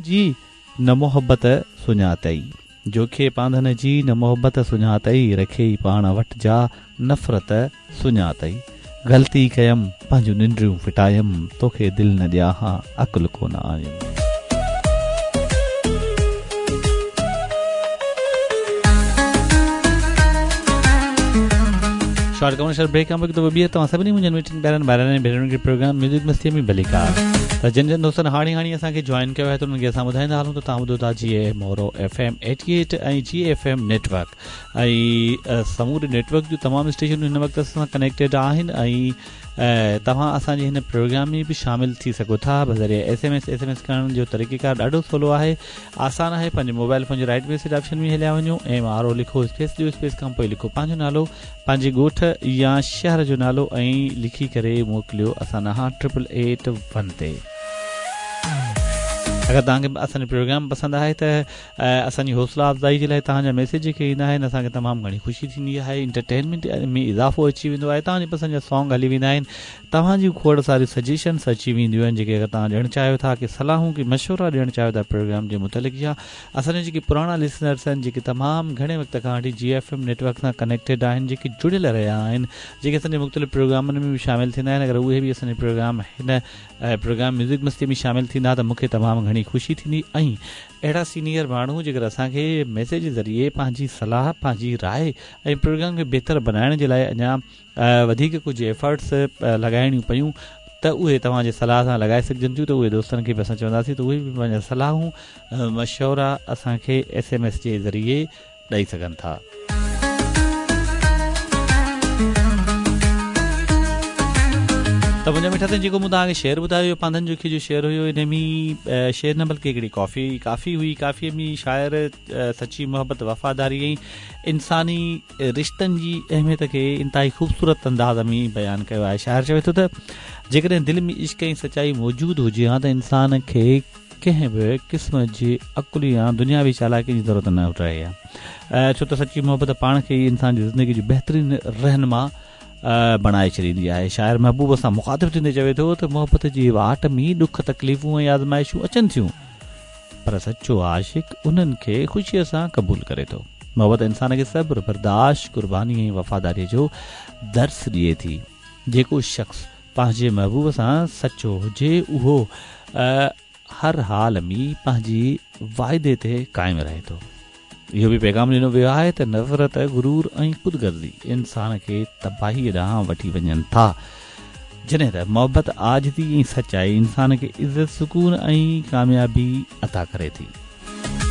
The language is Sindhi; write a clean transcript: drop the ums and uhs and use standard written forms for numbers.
جي نه محبت سڃاتئي. جوکي پانڌن جي نه محبت سڃاتئي رکيئي پاڻ وٽ جا نفرت سڃاتئي. غلطي ڪيم پنهنجون ننڊريون ڦٽايم توکي دل نه ڏيان ها عقل ڪونه آيم. شارٽ ڪمرشل بريڪ کان پوء هڪ دفعو ٻيهر توهان سڀني منهنجن مٺن پيارن ڀائرن ۽ ڀينرن کي پروگرام ميوزڪ مستي ۾ ڀليڪار ته جن جن دوستن هاڻي هاڻي اسان کي جوائن ڪيو آهي ته انهن کي اسان ٻڌائيندا هلون ته توهان ٻڌو ٿا جي Moro F M 88 ۽ G F M network ۽ سموري نيٽ ورڪ جون تمام اسٽيشنون هن وقت اسان سان ڪنيڪٽيڊ آهن ۽ توهان اسان جي هن پروگرام ۾ به شامل ٿي سگهو ٿا بذريعي S M S S M S ڪرڻ جو طريقيڪار ڏاڍو سولو آهي آسان آهي پنهنجي موبائل فون جي رائٽ ميسيج آپشن ۾ هليا وڃو ايم آر او لکو اسپيس ڏيو اسپيس کان پوء لکو پنهنجو نالو پنهنجي ڳوٺ يا شهر جو نالو ۽ لکي ڪري موڪليو اسان ڏانهن ٽرپل ايٽ ون تي اگر توهان کي اسان جو پروگرام پسند آهي ته اسان جي حوصلا افزائي جي لاء توهان جا ميسيج جيڪي ايندا آهن اسان کي تمام گهڻي خوشي ٿيندي آهي انٽرٽينمينٽ ۾ اضافو اچي ويندو آهي توهان جي پسند جا سانگ هلي ويندا آهن توهان جون کوڙ ساريون سجيشنس اچي وينديون آهن جيڪي اگر توهان ڏيڻ چاهيو ٿا ڪي صلاحون ڪي مشورا ڏيڻ چاهيو ٿا پروگرام جي متعلق يا اسان جا جيڪي پراڻا لسنرس آهن جيڪي تمام گهڻي وقت کان وٺي جي ايف ايم نيٽورڪ سان ڪنيڪٽيڊ آهن جيڪي جڙيل رهيا آهن جيڪي اسان جي مختلف پروگرامن ۾ به شامل ٿيندا آهن اگر اهي به اسان جي پروگرام هن پروگرام ميوزڪ مستي ۾ شامل ٿيندا ته مون کي تمام گهڻي خوشي ٿيندي ۽ اهڙا سينيئر ماڻهو جيڪر اسان کي ميسيج ذريعي پنهنجي صلاح پنهنجي راء ۽ پروگرام کي بهتر بنائڻ جي لاء اڃا وڌيڪ ڪجهه ايفرٽس لڳائڻيون پيون ته اهي توهان جي صلاح سان لڳائي سگهجن ٿيون ته اهي دوستن کي به اسان چونداسين ته اهي به پنهنجا صلاحون مشورا اسان کي ايس ايم ايس جي ذريعي ڏئي سگهن ٿا. ته منهنجا مٺا سائين جيڪو مون توهان کي شعر ٻڌايو اهو پانڌن جوکيي جو شعر هيو ان ۾ شعر نه بلڪه هڪڙي ڪافي ڪافي هئي ڪافي ۾ شاعر سچي محبت وفاداري ۽ انساني رشتن جي اهميت کي انتهائي خوبصورت انداز ۾ بيان ڪيو آهي شاعر چوي ٿو ته جيڪڏهن دل ۾ عشق ۽ سچائي موجود هجي ها ته انسان کي ڪنهن به قسم جي عقل يا دنياوي چالاڪي جي ضرورت نه رهي ها ڇو ته سچي محبت پاڻ کي ئي انسان جي زندگي جو بهترين رهنما بڻائي ڇڏيندي آهي. شاعر محبوب سان مخاطب ٿيندي چوي ٿو ته محبت جي واٽ ۾ ڏک تڪليفون ۽ آزمائشون اچن ٿيون پر سچو عاشق انهن کي خوشيء سان قبول ڪري ٿو. محبت انسان کي صبر، برداشت، قرباني ۽ وفاداري جو درس ڏئي ٿي. جيڪو شخص پنهنجي محبوب سان سچو هجي اهو هر حال ۾ پنهنجي واعدي تي قائم رهي ٿو. اهو به پيغام ڏنو ويو آهي ته نفرت، غرور ۽ خود غرضي انسان کي تباهيء ڏانهن وٺي وڃن ٿا، جڏهن ته محبت، عاجزي ۽ سچائي انسان کي عزت، سڪون ۽ ڪاميابي عطا ڪري ٿي.